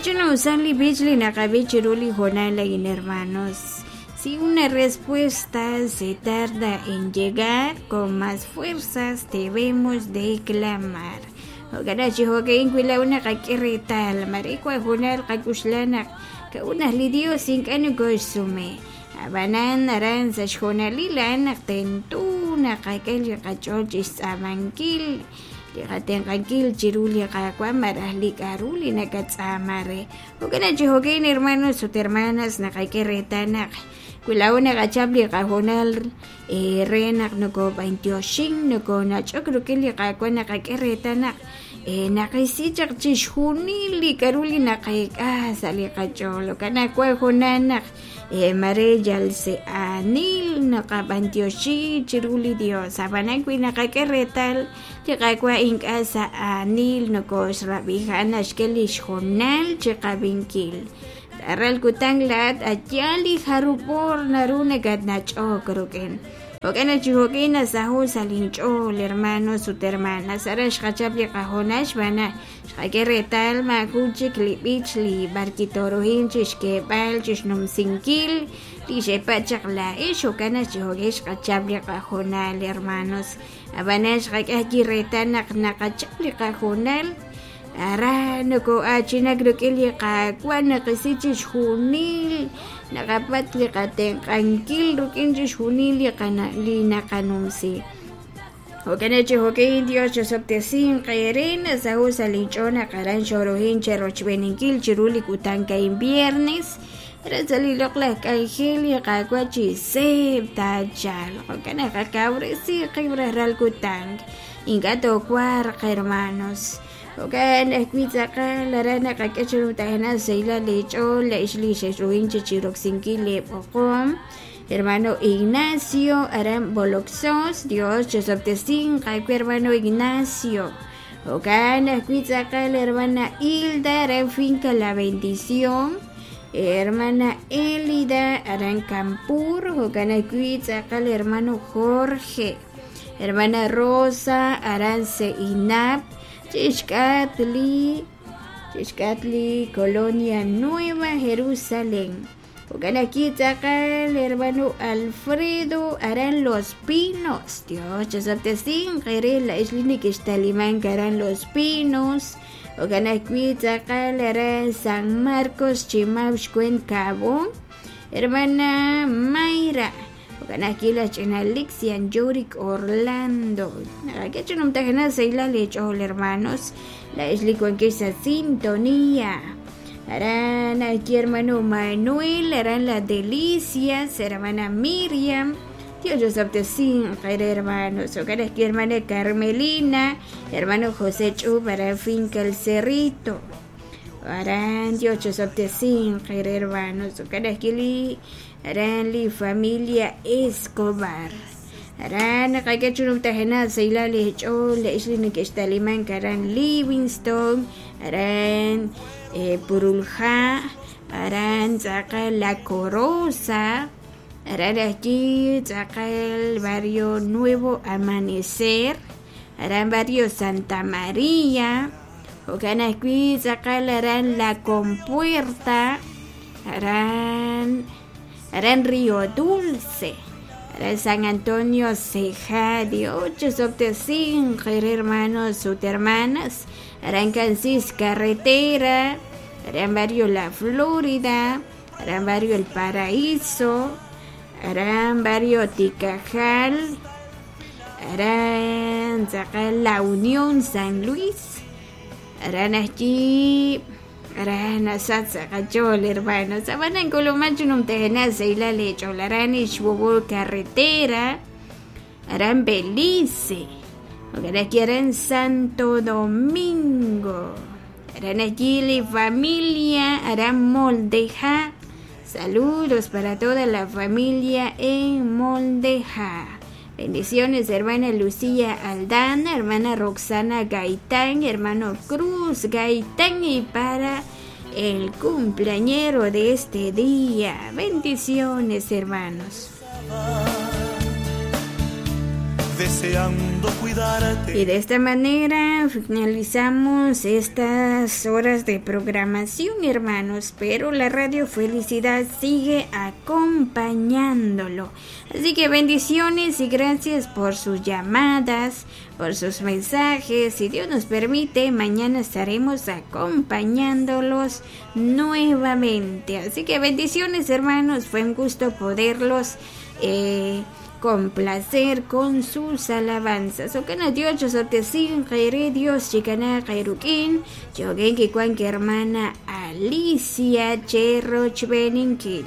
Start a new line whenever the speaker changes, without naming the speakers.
K'e li b'ich li naqab'i chiru li hoonal a'in, hermanos. Si una respuesta se tarda en llegar, con más fuerzas debemos de clamar. Jo'kan chi jo'ka'in wi laa'o naqak'e reetal mare wan hoonal qak'uxla naq ka'ut naq li Dios ink'a' nokoxsume. Ab'anan aran sa' xhoonalil a'an naq tento naqak'e li qach'ool chixtz'aamankil li qatenq'ankil chiru li Qaawa' malaj li k'a'ru li nakatz'aama re. Jo'kan chi jo'ka'in, hermanos ut hermanas, naqak'e reetal naq wi laa'o naqachap li qahoonal re naq nokob'antioxin nokonach'ok rik'in li Qaawa' naqak'e reetal naq naqisi chaq chixjunil li k'a'ru li naqeek'a sa' li qach'ool. Jo'kan naq wan hoonal naq mare yal se'aanil naqab'antioxi chiru li Dios. Ab'anan wi naqak'e reetal li Qaawa' ink'a' sa'aanil nokoxrab'i, a'an naxk'e li xhoonal chiqab'inkil. Ral kutan laa'at a'yaal li jarub' oor naru nakatnach'ok rik'in. Jo'kan naq chi jo'kin nasaho' sa' linch'ool, hermanos ut hermanas. Aran xqachap li qahoonal xb'aan naq xqak'e reetal maajun chik li b'ich li b'arkitorohin chixk'eeb'al chixnumsinkil li xepa' chaq laa'ex. Jo'kan naq chi jo'kin xqachap li qahoonal, hermanos. Ab'anan xqak'e ajwi' reetal naq naqachap li qahoonal aran noko'achinak rik'in li Qaawa' naqisi chixjunil naqapatz' li qatenq'ankil rik'in chixjunil li naqanumsi. Jo'kan naq chi jo'kin Dios chosob'tesinq eere nasaho' sa' linch'ool naq aran xorohin cherochb'eeninkil chiru li kutan ka'in viernes aran sa' li loq'laj k'anjel li Qaawa' chi seeb' taachalq. Jo'kan naq qakawresi qib' rajlal kutan ink'a' toowarq, hermanos. Jo'kan ajwi' tz'aqal aran naqak'e chiru tajna sahilal leech'ool la'ex li xexruhin chiroksinkil leeb'oqom. Hermano Ignacio aran Boloxos, Dios chosob'tesinq aawe, hermano Ignacio. Jo'kan ajwi' tz'aqal hermana Hilda aran Finca La Bendición, hermana Elida aran Campur, jo'kan ajwi' tz'aqal hermano Jorge, hermana Rosa aran Seinap, chixk'atli Colonia Nueva Jerusalén. Jo'kan ajwi' tz'aqal hermano Alfredo aran Los Pinos. Dios chosob'tesinq eere la'ex li nekextalimank aran Los Pinos. Jo'kan ajwi' tz'aqal aran San Marcos Chimab xkwent Cabón. Hermana Mayra. Jo'kan ajwi' laj ch'ina Lixian Yurik Orlando. Naqak'e chi numtajenaq sahilal leech'ool, hermanos. La'ex li wankex sa' sintonía. Aran ajwi' hermano Manuel, aran La Delicias, hermana Miriam. Dios chosob'tesinq eere, hermanos. Jo'kan ajwi' hermana Carmelina, hermano José Ch'ub aran Finca El Cerrito. Aran Dios chosob'tesinq eere, hermanos. Jo'kan ajwi' li aran li familia Escobar. Aran naqak'e chi numtajenaq sahilal leech'ool la'ex li neke'xtalimank aran Livingston, aran Purulja, aran tz'aqal La Corosa, aran ajwi' tz'aqal barrio Nuevo Amanecer, aran barrio Santa María, jo'kan ajwi' tz'aqal aran La Compuerta, aran Río Dulce, aran San Antonio Ceja. Dios chosob'tesinq eere, hermanos ut hermanas. Aran Cansis Carretera, aran barrio La Florida, aran barrio El Paraíso, aran barrio Ticajal, aran tz'aqal La Unión San Luis, aran ajwi' aran nasach sa' qach'ool, hermanos. Ab'anan k'uluman chi numtajenaq sahilal leech'ool aran Ixbubul Carretera, aran Belice, jo'kan ajwi' aran Santo Domingo, aran ajwi' li familia aran Moldeja. Saludos para toda la familia en Moldeja. Bendiciones, hermana Lucía Aldana, hermana Roxana Gaitán, hermano Cruz Gaitán y para el cumpleañero de este día. Bendiciones, hermanos.
Deseando cuidarte.
Y de esta manera finalizamos estas horas de programación, hermanos, pero la Radio Felicidad sigue acompañándolo. Así que bendiciones y gracias por sus llamadas, por sus mensajes. Si Dios nos permite, mañana estaremos acompañándolos nuevamente. Así que bendiciones, hermanos. Fue un gusto poderlos complacer con sus alabanzas. Okana Dios sotesin Dios chikana qairukin. Yogenki cuanque hermana Alicia Cherroch Beninkil.